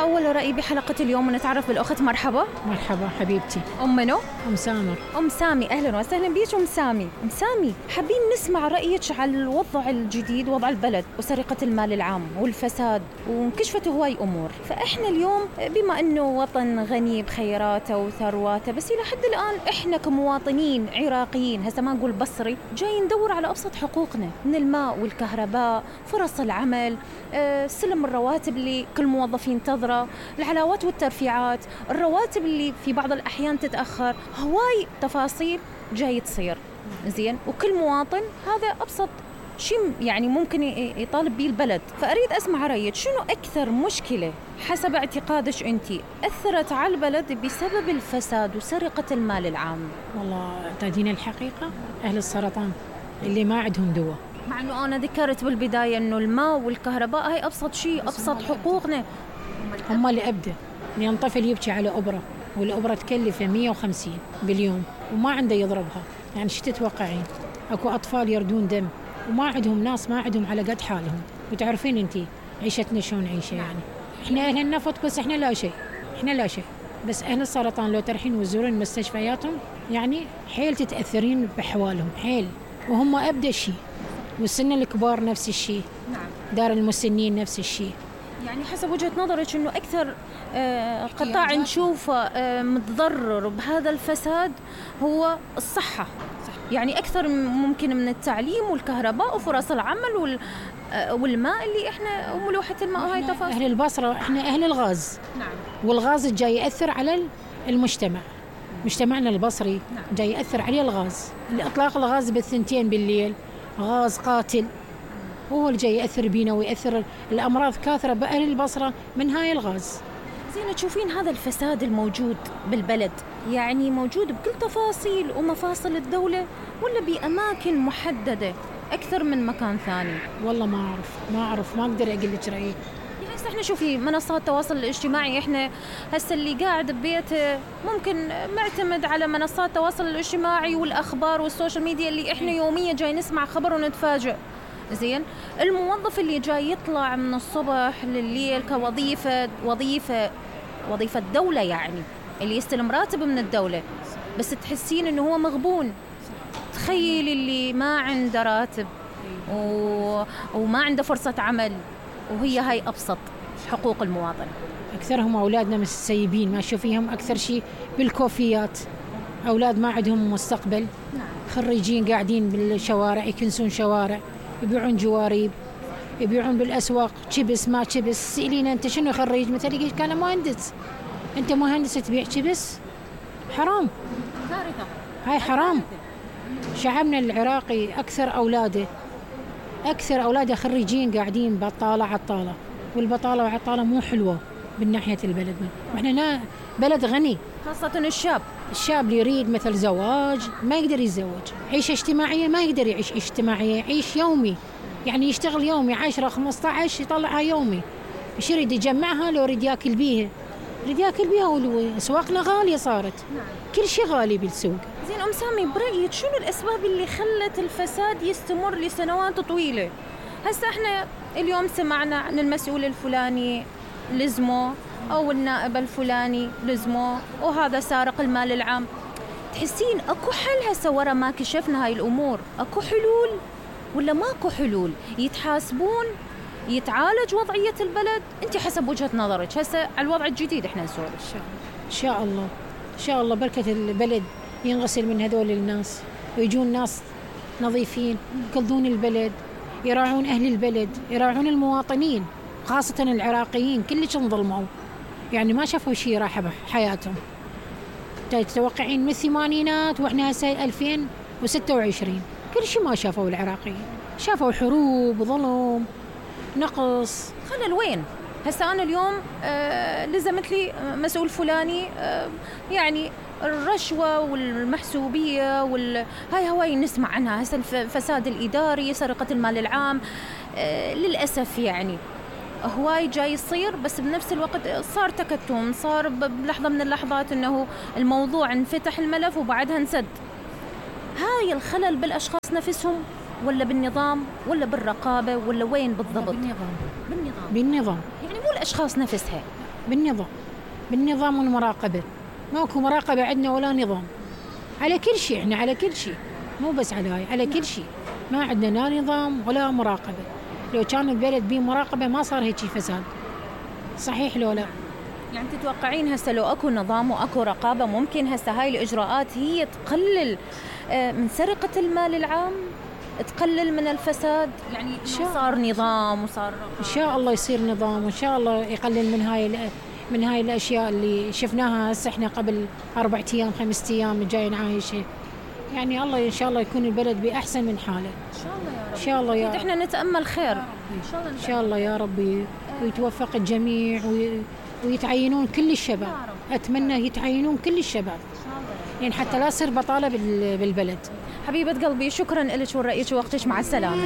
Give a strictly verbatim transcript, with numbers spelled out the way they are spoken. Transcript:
أول رأي بحلقة اليوم ونتعرف بالأخت. مرحبا. مرحبا حبيبتي. أم منو؟ أم سامر. أم سامي، أهلا وسهلا بيك أم سامي. أم سامي، حابين نسمع رأيك على الوضع الجديد، وضع البلد وسرقة المال العام والفساد، وانكشفت هواي أمور. فإحنا اليوم بما أنه وطن غني بخيراته وثرواته، بس إلى حد الآن إحنا كمواطنين عراقيين، هسا ما نقول بصري، جاي ندور على أبسط حقوقنا من الماء والكهرباء، فرص العمل، أه، سلم الرواتب اللي كل موظف ينتظره، العلاوات والترفيعات، الرواتب اللي في بعض الأحيان تتأخر، هواي تفاصيل جاي تصير. زين، وكل مواطن هذا أبسط شيء يعني ممكن يطالب به البلد. فأريد أسمع رأيك، شنو أكثر مشكلة حسب اعتقادك أنتي أثرت على البلد بسبب الفساد وسرقة المال العام؟ والله تدين الحقيقة أهل السرطان اللي ما عندهم دواء، مع أنه أنا ذكرت بالبداية أنه الماء والكهرباء هاي أبسط شيء، أبسط حقوقنا. هم اللي أبدأ لأن طفل يبكي على أبرة، والأبرة تكلفه مية وخمسين باليوم وما عنده يضربها، يعني شو تتوقعين؟ أكو أطفال يردون دم وما عندهم ناس، ما عندهم على قد حالهم. وتعرفين أنتي عيشتنا شلون عيشة، يعني إحنا أهل النفط بس إحنا لا شيء، إحنا لا شيء. بس أهل السرطان لو ترحين وتزورين مستشفياتهم يعني حيل تتأثرين بحوالهم حيل، وهم أبدأ شيء. والسن الكبار نفس الشيء، دار المسنين نفس الشيء. يعني حسب وجهة نظرك إنه أكثر آه قطاع نشوفه آه متضرر بهذا الفساد هو الصحة، يعني أكثر ممكن من التعليم والكهرباء وفرص العمل وال آه والماء اللي إحنا وملوحة الماء وهاي تفاصيل. أهل البصرة إحنا أهل الغاز. نعم. والغاز جاي يأثر على المجتمع، مجتمعنا البصري. نعم. جاي يأثر عليه الغاز، الإطلاق الغاز بالثنتين بالليل غاز قاتل، هو اللي جاي يأثر بينا ويأثر الأمراض كاثرة بأهل البصرة من هاي الغاز. زين، تشوفين هذا الفساد الموجود بالبلد يعني موجود بكل تفاصيل ومفاصل الدولة، ولا بأماكن محددة أكثر من مكان ثاني؟ والله ما أعرف ما أعرف ما أقدر أقول لك رأيي. يعني هسه إحنا شوفي منصات التواصل الاجتماعي، إحنا هسه اللي قاعد ببيته ممكن معتمد على منصات التواصل الاجتماعي والأخبار والسوشيال ميديا اللي إحنا يوميا جاي نسمع خبر ونتفاجئ. زين، الموظف اللي جاي يطلع من الصبح لليل كوظيفة وظيفة وظيفة دولة، يعني اللي يستلم راتب من الدولة، بس تحسين إنه هو مغبون. تخيل اللي ما عنده راتب و... وما عنده فرصة عمل، وهي هاي أبسط حقوق المواطن. أكثرهم أولادنا متسيبين، ما شوفيهم أكثر شيء بالكوفيات، أولاد ما عندهم مستقبل. خريجين قاعدين بالشوارع يكنسون شوارع، يبيعون جواريب، يبيعون بالأسواق شبس ما شبس. سئلينا أنت شنو خريج؟ مثلا يقول كان مهندس. أنت مهندس تبيع شبس؟ حرام، كارثة، هاي حرام. شعبنا العراقي أكثر أولاده أكثر أولاده خريجين قاعدين بطالة عطالة، والبطالة وعطالة مو حلوة بالناحية البلد. وإحنا بلد غني، خاصة الشاب الشاب اللي يريد مثل زواج ما يقدر يتزوج، عيشة اجتماعية ما يقدر يعيش اجتماعية، يعيش يومي، يعني يشتغل يومي عشرة خمسة عشر يطلعها يومي. إيش يريد يجمعها؟ لو يريد ياكل بيها يريد ياكل بيها، وأسواقنا غالية صارت. نعم. كل شيء غالي بالسوق. زين أم سامي، برأيك شنو الأسباب اللي خلت الفساد يستمر لسنوات طويلة؟ هسه احنا اليوم سمعنا عن المسؤول الفلاني لزمه، أو النائب الفلاني لزمه، وهذا سارق المال العام. تحسين أكو حل هسه ورا ما كشفنا هاي الأمور؟ أكو حلول ولا ماكو حلول؟ يتحاسبون؟ يتعالج وضعية البلد؟ أنت حسب وجهة نظرك هسه على الوضع الجديد احنا نسولف. إن شاء الله إن شاء الله بركة البلد ينغسل من هذول الناس، ويجون ناس نظيفين يقضون البلد، يراعون أهل البلد، يراعون المواطنين، خاصة العراقيين كلش انظلموا، يعني ما شافوا شيء راح بحياتهم. تتوقعين من الثمانينات وإحنا هسه ألفين وستة وعشرين كل شيء ما شافوا العراقيين، شافوا حروب، ظلم، نقص. خلل وين؟ هسه أنا اليوم آه لزمت لي مسؤول فلاني، آه يعني الرشوة والمحسوبية وال... هاي هواي نسمع عنها هسه، الفساد الإداري، سرقة المال العام. آه للأسف يعني هواي جاي يصير، بس بنفس الوقت صار تكتم، صار بلحظة من اللحظات إنه الموضوع انفتح الملف وبعدها انسد. هاي الخلل بالأشخاص نفسهم ولا بالنظام ولا بالرقابة ولا وين بالضبط؟ بالنظام. بالنظام بالنظام يعني مو الأشخاص نفسها. بالنظام بالنظام والمراقبة. ماكو مراقبة عندنا ولا نظام على كل شيء، احنا على كل شيء مو بس على هاي، على كل شيء ما عندنا لا نظام ولا مراقبة. لو كان البلد بيه مراقبة ما صار هيك فساد، صحيح لو لا؟ يعني تتوقعين هسه لو اكو نظام واكو رقابة ممكن هسه هاي الاجراءات هي تقلل من سرقة المال العام، تقلل من الفساد؟ يعني صار نظام وصار رقابة. ان شاء الله يصير نظام، وان شاء الله يقلل من هاي من هاي الاشياء اللي شفناها هسه احنا قبل أربعة ايام خمسة ايام جاي نعايشه. يعني الله ان شاء الله يكون البلد باحسن من حاله ان شاء الله يا رب. ان شاء الله يا رب. احنا نتامل خير ان شاء الله ان شاء الله يا ربي، ويتوفق الجميع ويتعينون كل الشباب. اتمنى يتعينون كل الشباب يعني حتى لا تصير بطاله بالبلد. حبيبه قلبي شكرا لك ورأيك ووقتك، مع السلامه.